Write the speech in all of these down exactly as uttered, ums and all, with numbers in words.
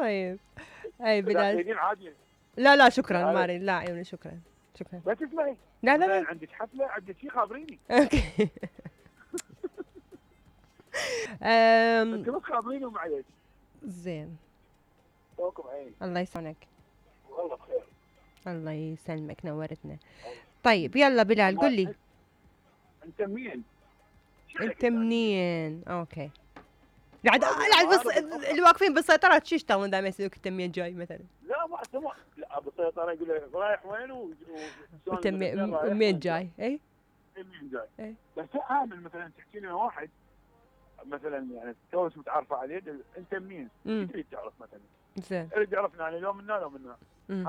طيب اي بلال تريدين عادي؟ لا لا شكرا ما اريد، لا عيوني شكرا شكرا. بس اسمعي، لا لا لا عندك حفله عندك شيء خابريني. اوكي. انت بس خابريني ومعليش. زين توكم عيني. الله يسعدك. والله بخير. الله يسلمك نورتنا. طيب يلا بلال قل لي انت منين؟ انت منين؟ اوكي قاعد قاعد بس اللي واقفين بالسيطرة شو يشتغلون دائما يسالوك انت منين جاي مثلا؟ لا ما سمع، لا بالسيطرة يقول لك رايح وين و انت منين جاي؟ اي منين جاي؟ اي بس عامل مثلا تحكي لنا واحد مثلا يعني توك متعرفه عليه انت منين؟ تريد تعرف مثلا؟ زين اللي يعرفنا يعني لو منا لو منا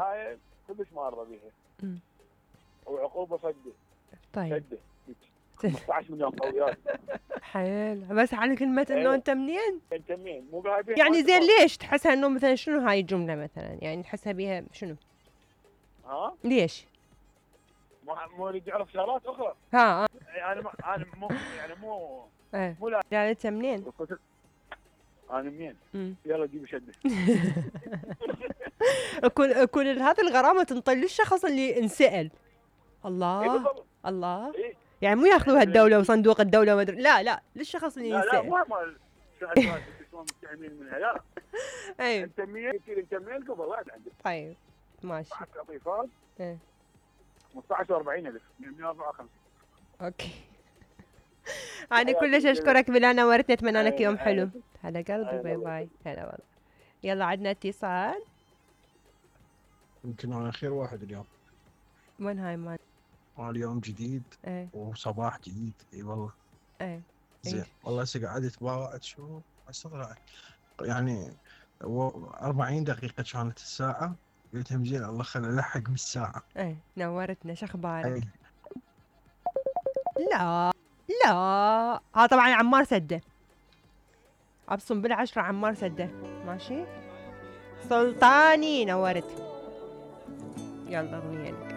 هاي كلش ما ارضى بيها. وعقوبه صدق. طيب صدق خمسة عشر مليون قويات. حيل بس على كلمة انه انت منين؟ انت منين؟ مو قاعدين يعني زين ليش تحسها انه مثلا شنو هاي الجملة مثلا؟ يعني تحسها بيها شنو؟ ها؟ ليش؟ مو يريد يعرف شغلات اخرى. ها انا ما انا مو يعني مو ايه مو لا يعني انت منين؟ انا منين؟ يلا جيب شده. كل كل هذه الغرامة تنطي للشخص اللي انسأل. الله إيه الله إيه؟ يعني مو ياخذوها الدولة وصندوق الدولة ما ادري، لا لا للشخص اللي ينسأل. لا لا ما ما شلون مستعملين منها لا. اي انت منين؟ انت منين قبل واحد عندك. طيب ماشي. قطيفات ايه خمسة عشر وأربعين ألف مئة وأربعة وخمسين. اوكي. أنا كلش أشكرك بلال نورتني، أتمنى لك يوم حلو. هلا قلبي باي باي. هلا والله. يلا عندنا اتصال. يمكن أنا خير واحد اليوم. وين هاي مان؟ اليوم جديد ايه وصباح جديد. اي والله. ايه زين والله هسه قعدت باوعد شو استغرب يعني أربعين دقيقة كانت الساعة، قلت هم زين الله خلنا نلحق من الساعة. ايه نورتنا، شو اخبارك؟ أي. لا لا ها طبعا عمار سده، ابصم بالعشرة عمار سده. ماشي سلطاني نورت. يلا اغنية لك.